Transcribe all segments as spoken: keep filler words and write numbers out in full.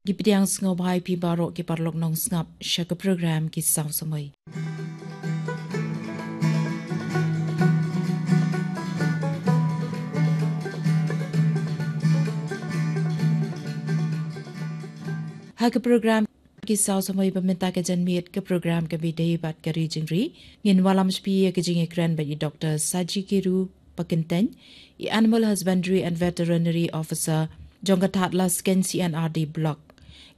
Ki pdiang sngewbha ïa phi baroh ki paralok nongsngap sha ka program Ki Saw Samoi. Ha ka program Ki Saw Samoi ba mynta ka janmiet, ka program kaba ïadei bad ka ri jingri, ngin wallam sha phi ïa ka jingïakren bad i Doktor Sajikiru Pakyntein, i Animal Husbandry and Veterinary Officer jong ka Thadlaskein C and R D Block.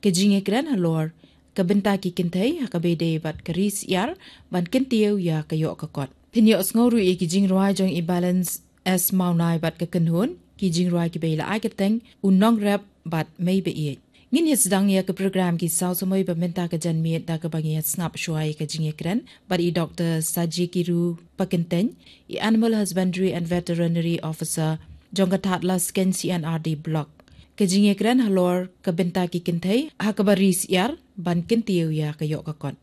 Ka jingïakren halor ka bynta ki kynthei ha kaba ïadei bad ka ri syiar ban kyntiew ïa ka ïoh ka kot. Phin ïohsngew ruh ïa ki jingrwai jong i Balance S Mawnai bad ka kynhun, ki jingrwai kiba ïaleh kyrteng U Nongrep bad Mei Baieit. Ngin ïa sdang ïa ka program Ki Saw Samoi ba mynta ka janmiet da kaba ngin ïa sngap shuwa ïa ka jingïakren bad i Doktor Sajikiru Pakyntein, i Animal Husbandry and Veterinary Officer jong ka Thadlaskein C and R D Block. Ka jingïakren halor ka bynta ki kynthei ha kaba ri syiar ban kyntiew ïa ka ïoh ka kot.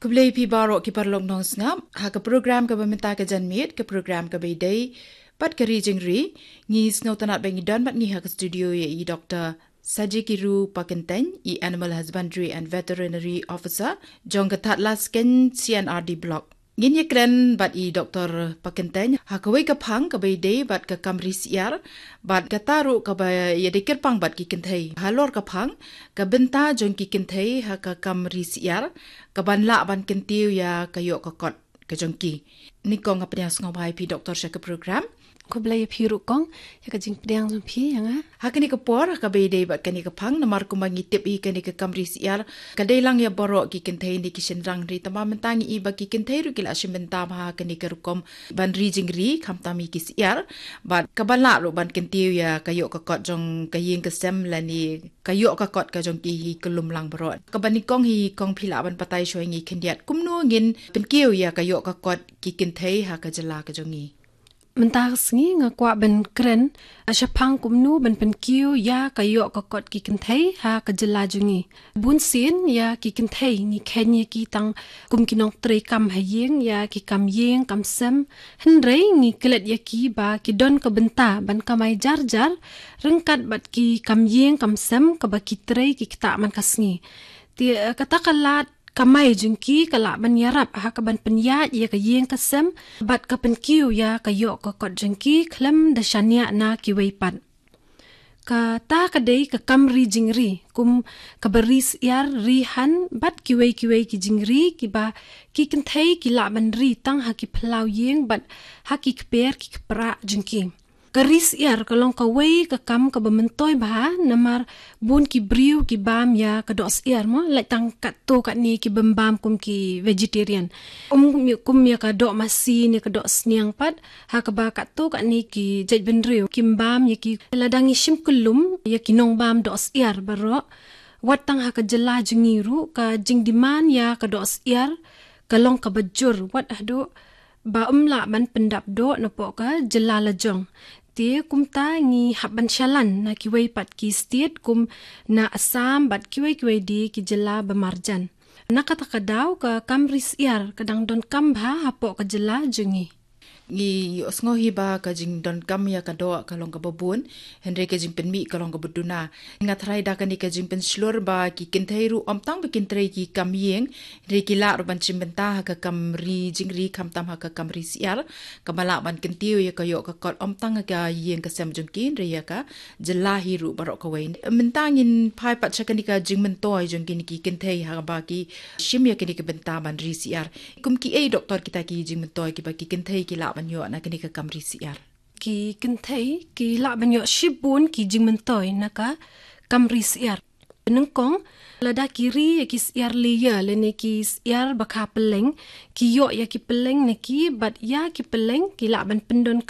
Khublei phi baroh ki paralok nongsngap ha ka program kaba mynta ka janmiet, ka program kaba ïadei bad ka ri jingri. Ngi sngewtynnat ba ngi don bad ngi ha ka studio ïa i Doktor Sajikiru Pakyntein, i Animal Husbandry and Veterinary Officer jong ka Thadlaskein C and R D Block. Ngin ïakren bad i Doktor Pakyntein ha kawei ka phang kaba ïadei bad ka kam ri syiar, bad kata ruh kaba ïadei kyrpang bad ki kynthei. Halor ka phang ka bynta jong ki kynthei ha ka kam ri syiar, kaban lah ban kyntiew ïa ka ïoh ka kot ka jong ki. Nyngkong nga pdiang sngewbha ïa phi Doktor sha ka program. Khublei ïa phi ruh kong ïa ka jingpdiang jong phi ïa nga. Ha kane ka por, ha kaba ïadei bad kane ka phang, namar kumba ngi tip hi, kane ka kam ri syiar ka dei lang ïa baroh ki kynthei ne ki shynrang, hynrei tangba mynta ngi i ba ki kynthei ruh ki la shim bynta bha ha kane ka rukom ban ri jingri, khamtam ïa ki syiar, bad kaban lah ruh ban kyntiew ïa ka ïoh ka kot jong ka ïing ka sem lane ka ïoh ka kot ka jong ki hi kyllum lang baroh. Kaba nyngkong hi kong, phi lah ban batai shuwa ïa ngi khyndiat kumno ngin pynkiew ïa ka ïoh ka kot ki kynthei ha ka jylla ka jong ngi. Mynta ka sngi nga kwah ban kren shaphang kumno ban pynkiew ïa ka ïoh ka kot ki kynthei ha ka jylla jong ngi. Bun sien ïa ki kynthei ngi kheiñ ïa ki tang kum ki nongtrei kam ha ïing, ïa ki kam ïing kam sem. Hynrei ngi klet ïa ki ba ki don ka bynta ban kamai jar jar ryngkat bad ki kam ïing kam sem kaba ki trei ki ktah man ka sngi. Te, eh, kata ka lad kamai jong ki ka lah ban ïarap ha kaban pynïaid ïa ka ïing ka sem bad ka pynkiew ïa ka ïoh ka kot jong ki khlem da shaniah na kiwei pat. Kata ka dei ka kam ri jingri, kum kaba ri syiar, ri han bad kiwei kiwei ki jingri kiba ki kynthei ki lah ban ri tang ha ki phyllaw ïing bad ha ki kper ki kpra jong ki. Ka ri syiar ka long kawei ka kam kaba myntoi bha, namar bun ki briew ki bam ïa ka doh syiar mo, lait tang katto katne ki bym bam kum ki vegetarian. Um, kum ïa, kum ïa ka doh masi ne ka doh sniang pat, ha kaba katto katne ki jaitbynriew kim bam ïa ki. Lada ngi shim kyllum ïa ki nongbam doh syiar baroh, wat tang ha ka jylla jong ngi ruh ka jingdemand ïa ka doh syiar ka long kaba jur, wat haduh ba ym lah ban pyndap doh napoh ka jylla lajong. Te kumta ngi hap ban shalan na kiwei pat ki state kum na Assam bad kiwei kiwei de ki jylla ba marjan. Na kata ka daw ka kam ri syiar ka dang donkam bha hapoh ka jylla jong ngi. Ngi ïohsngew hi ba ka jingdonkam ïa ka doh ka long kaba bun, hynrei ka jingpynmih ka long kaba duna. Nga tharai da kane ka jingpynshlur ba ki kynthei ruh ym tang ba kin trei ki kam ïing, hynrei ki lah ruh ban shim bynta ha ka kam ri jingri khamtam ha ka kam ri syiar, kaba lah ban kyntiew ïa ka ïoh ka kot ym tang ha ka ïing ka sem jong ki, hynrei ïa ka jylla hi ruh baroh kawei. Mynta ngin phai pat sha kane ka jingmyntoi jong kine ki kynthei ha kaba ki shim ïa kane ka bynta ban ri syiar. Kum kiei Doktor kita ki jingmyntoi kiba ki kynthei ki lah ban ïoh na kane ka kam ri syiar? Ki kynthei ki lah ban ïoh shibun ki jingmyntoi na ka kam ri syiar. Nyngkong, lada ki ri ïa ki syiar layer lane ki syiar ba kha pylleng, ki ïoh ïa ki pylleng na ki, bad ïa ki pylleng ki lah ban pyndon